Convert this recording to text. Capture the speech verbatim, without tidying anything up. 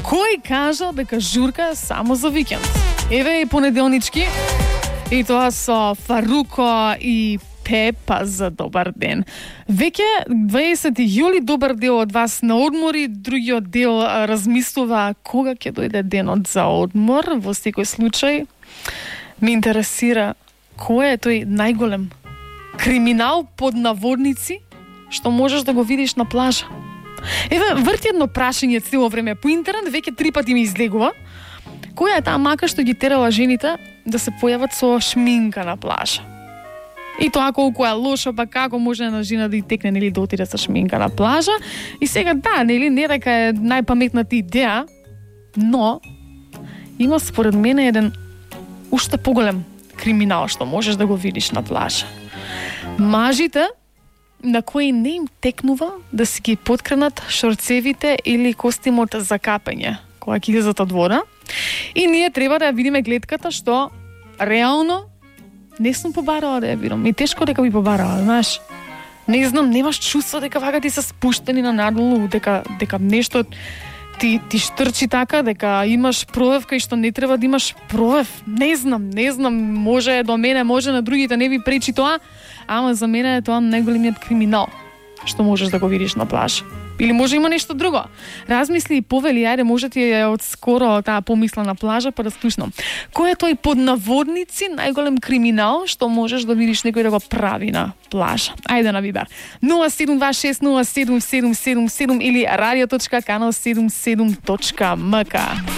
Кој кажа дека журка е само за викенд? Еве и понеделнички, и тоа со Фаруко и Пепа за добар ден. Веќе дваесети јули, добар дел од вас на одмори, другиот дел размислува кога ќе дојде денот за одмор. Во секој случај ме интересира кој е тој најголем криминал под наводници што можеш да го видиш на плажа. Еве, врти едно прашање цело време по интернет, веќе три пати ми излегува. Која е таа мака што ги терала жените да се појават со шминка на плажа? И тоа колку е лошо, па како може една жена да и текне, нели, да отиде со шминка на плажа? И сега да, нели, не дека е најпаметната идеја, но има според мене еден уште поголем криминал што можеш да го видиш на плажа. Мажите на кои не им текнува да си ги поткренат шорцевите или костимот за капење кога ќе излезат од вода. И ние треба да ја видиме глетката што реално не сум побарала да ја видам. И тешко дека би побарала, знаеш. Не знам, немаш чувство дека вака ти се спуштени на надолу, дека дека нешто ти ти штрчи така, дека имаш провев кај што не треба да имаш провев. Не знам, не знам, може до мене, може на другите не ви пречи тоа, ама за мене е тоа најголемиот криминал што можеш да го видиш на плажа. Или може има нешто друго. Размисли и повели, ајде, може ти е од скоро таа помисла на плажа, па да слушнам. Кој е тој под наводници најголем криминал што можеш да видиш некој да го прави на плажа? Ајде на Вибер. нула седум два шест нула седум седум седум седум или радио точка канал седумдесет и седум точка ем ка.